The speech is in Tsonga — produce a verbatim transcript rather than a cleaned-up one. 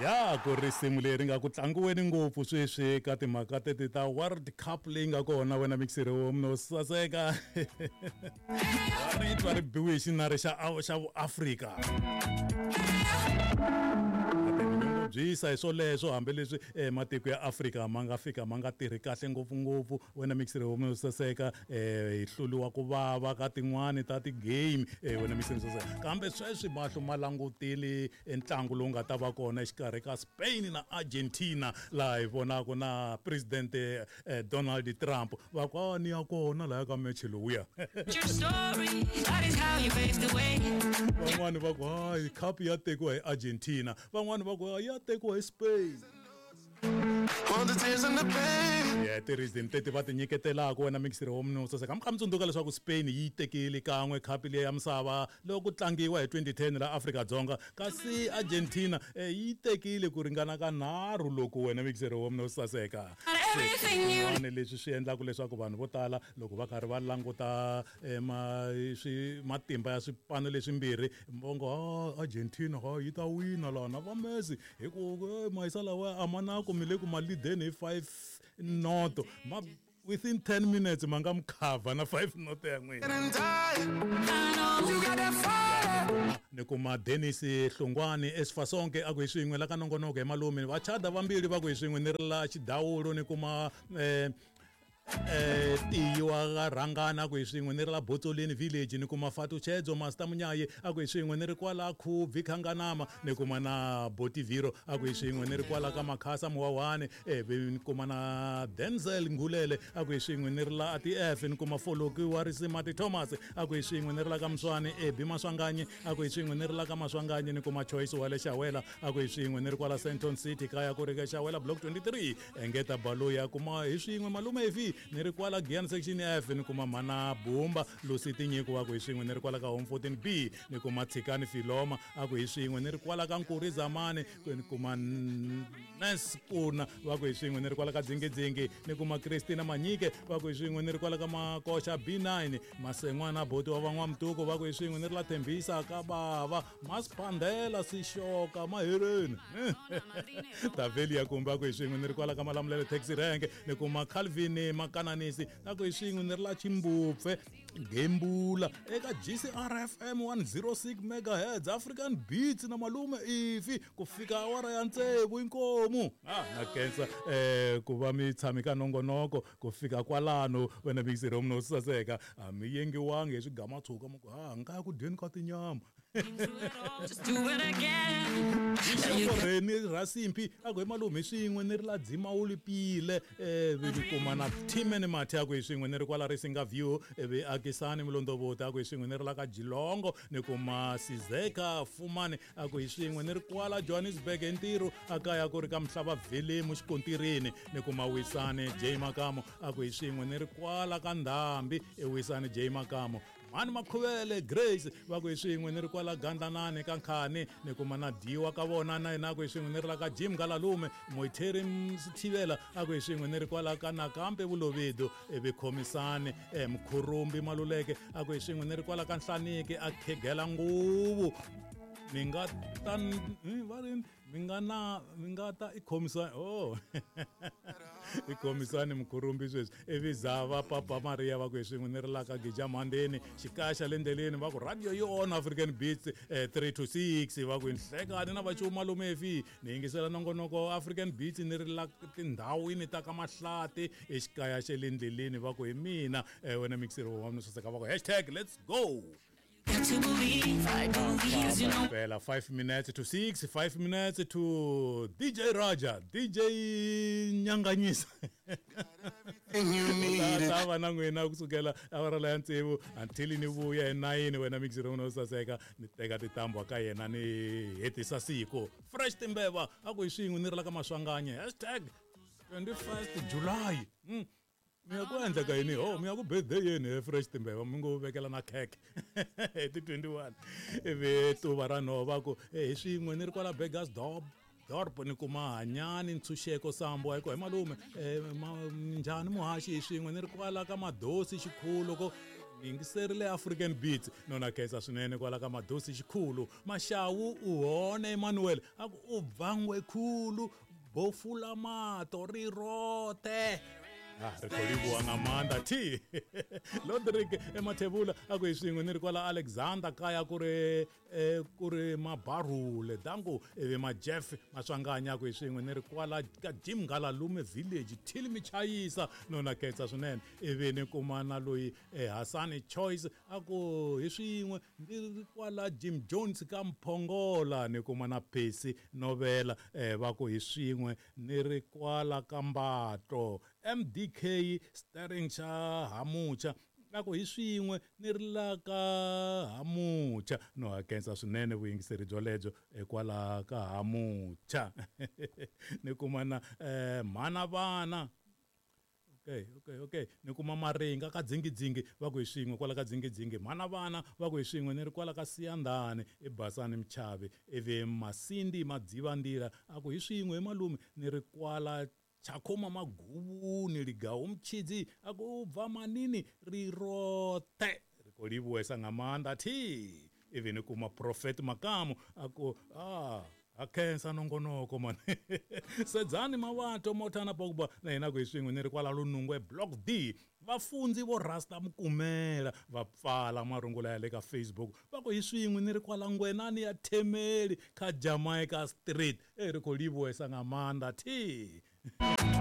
Ya ku risimu leri nga ku tlangiweni ngopfu sweswi ka timhaka teti ta World Cup leyi nga kona wena mixiri wo mno saseka ri twa ri biwe hi xinari xa xa Afrika byisa hi swoleswo hambileswi matiko ya Afrika ma nga fika ma nga tirhi kahle ngopfungopfu wena mixiri wo mno saseka hi hluliwa ku vava ka tin'wani ta ti-game wena mixiri saseka kambe sweswi mahlo ma langutile ntlangu lowu nga ta va kona exikarhi ka Spain na Argentina laha hi vonaka na president Donald Trump va ku ni ya kona laya ka match lowuya van'wani va ku hayi cup ya tekiwa hi Argentina van'wani va ku ya tekiwa hi Spain. Yeah, ti-reason teti va ti nyiketelaka wena mixiri wo mno saseka mi kha mi tsundzuka leswaku Spain yi tekile kan'we khapi leyi ya misava loko ku tlangiwa hi twenty ten la Afrika-Dzonga kasi Argentina yi tekile ku ringana ka nharhu loko wena mixiri wo mno saseka swin'wana leswi swi endlaka leswaku vanhu vo tala loko va karhi va languta matimba ya swipano leswimbirhi va ngo Argentina yi ta wina lana va Messi hi ku mahisa lawa a ma na ku mi le ku ma leadeni hi five noto ma within ten minutes ma nga mi cover na five noto ya n'wina. Ni kuma Dennis Hlongwane Esifasonke a ku hi swin'we la ka nongonoko hi malume va chada vambirhi va ku hi swin'we ni ri la Xidawulo ni kuma eh eh tiyiwa ka rhangana ku hi swin'we ni ri la Botsoleni village ni kuma Fatu Chedzo Master Munyayi a ku hi swin'we ni ri kwala Khubvi Khanganama ni kuma na Botiviro a ku hi swin'we ni ri kwala ka Makhasa Muwawani eh ni kuma na Denzel Ngulele a ku hi swin'we ni ri la A T F ni kuma Foloki wa Risimati Thomas a ku hi swin'we ni ri la ka Mswani Ebi Maswanganyi a ku hi swin'we ni ri la ka Maswanganyi ni kuma Choice wa le Xawela a ku hi swin'we ni ri kwala Senton City kaya ku ri ka Xawela block twenty-three engeta Baloyi kuma hi swin'we malume efi ni ri kwala Giyani section F ni kuma Mana Bumba Lucy Tinyiko wa ku hi swin'we ni ri kwala ka Home fourteen B ni kuma Tshikani Filoma a ku hi swin'we ni ri kwala ka Nkuri Zamani ni kuma Nes Kuna wa ku hi swin'we ni ri kwala ka Dzingidzingi ni kuma Christina Manyike wa ku hi swin'we ni ri kwala ka Makosha B nine Masengwana Boti wa van'wamtuku va ku hi swin'we ni ri la Thembisa ka bava Masiphandela Sixoka Mahereni Taveli ya kumba ku hi swin'we ni ri kwala ka Malamulele taxi rank ni kuma Calvin Makananisi na ku hi swin'we ni ri la Chimbupfe Gembula eka G C R F M one oh six megahertz African Beats na malume ifi ku fika awara ya tsevu inkomu ah na kensa eh ku va mi tshami ka nongonoko ku fika kwalano wena mixiri wo mno saseka a mi yengiwangi hi swigamatshuka mi ku ha nga ku dyeni ka tinyama Just do it again. Reni Rasimpi a ku hi malume swin'we ni ri la Dzimawuli Pile eh vi kuma na Timene Mathe a ku hi swin'we ni ri kwala Risinga View vi Akisani Mulondovoti a ku hi swin'we ni ri la ka Jilongo ni kuma Sizeka Fumani a ku hi swin'we ni ri kwala Johannesburg hi ntirho a kaya ku ri ka Mhlava Vhelemu xikontirini ni kuma Wisani J Makamo a ku hi swin'we ni ri kwala ka Ndhambi e Wisani J Makamo Mani Makhuvele Grace va ku hi swin'we ni ri kwala Gandlanani ka Nkhani ni kuma na Diwa ka vona na yena ku hi swin'we ni ri la ka Jim Galalume Moitheri Mthivela a ku hi swin'we ni ri kwala ka Nakambe Vulovido ivi Khomisani Mkhurumbi Maluleke a ku hi swin'we ni ri kwala ka Nhlaniki a khegela nguvu mi nga ta va ri mi nga na mi nga ta i khomisani oh i khomisani Mkhurumbi sweswi ivi Zava Papa Maria va ku hi swin'we ni ri la ka Gija Mhandeni xikaya le ndleleni va ku radio yi on African Beats eh, three to six va ku nhlekani na vachumu malume efi ni yingisela nongonoko African Beats ni ri la tindhawini ta ka Mahlati exikaya xa le ndleleni va ku hi mina eh, wena mixiri wa mina saseka va ku hashtag let's go. To believe, I believe, you know. Well, five minutes to six, five minutes to D J Raja, D J Nyanganyisa. Ta na n'wina kusukela awara la ya tsevu until ni vuya hi nine wena mixiri wo saseka ni teka tintambu ka yena ni hetisa siku. Fresh Timbeva a ku hi swin'we ni ri la ka Maswanganye hashtag twenty-first July. Mm. Mi ya ku endleka yini ho mi ya ku birthday yeni he Fresh Timbeva mi ngo vekela na cake hi ti twenty-one ivi tuva ra nhova ku hi swin'we ni ri kwala Beggars Dorp Dorp ni kuma Hanyani Ntshunxeko Sambo hi ku hi malume njhani muhaxi hi swin'we ni ri kwala ka Madosi Xikhulo ko Ni yingiserile African Beats no na khensa swinene kwala ka Madosi Xikhulu. Maxawu u hone Emmanuel a ku u bvangwe khulu bofula mato ri rote. Ah, ri khou livhuwa nga maanḓa thi. Lodrick emathebula a ku hi swin'we ni ri kwala Alexander kaya ku ri eh, ku ri mabarule dangu ivi majeff Maswanganya ku hi swin'we ni ri kwala ka Jim Ngalalume village till Michayisa no na khensa swinene. Ivi ni kuma na loyi eh, Hasani Choice a ku hi swin'we ni ri kwala Jim Jones ka Mphongola. Ni kuma na Percy Novela eh, va ku hi swin'we ni ri kwala ka Mbato. M D K Staring xa Hamucha a ku hi swin'we ni ri la ka Hamucha. No hakensa swinene vuyingiseri byolebyo kwala ka Hamucha. Ni kuma na eh, mhana vana. Okay, okay, okay. Ni kuma Maringa ka Dzingidzingi va ku hi swin'we kwala ka Dzingidzingi. Mhana vana va ku hi swin'we ni ri kwala ka Siyandhani eBasani Mchavi. Ivi Masindi Madzivandila a ku hi swin'we hi malume ni ri kwala Chakhoma Maguvuni Ligawo Mtshidzi a ku bva manini ri rote. Ri khou livhuwesa nga maanḓa thi. Ivi ni kuma Prophet Makamu a ku ah a khensa nongonoko mani. Sedzani Mawato Mothana Pogba na yena ku hi swin'we ni ri kwala Lunungwe Block D. Vafundzi vo Rasta Mukumela va pfala marungula ya le ka Facebook va ku hi swin'we ni ri kwala Ngwenani ya Themeli ka Jamaica Street. E ri khou livhuwesa nga maanḓa thi.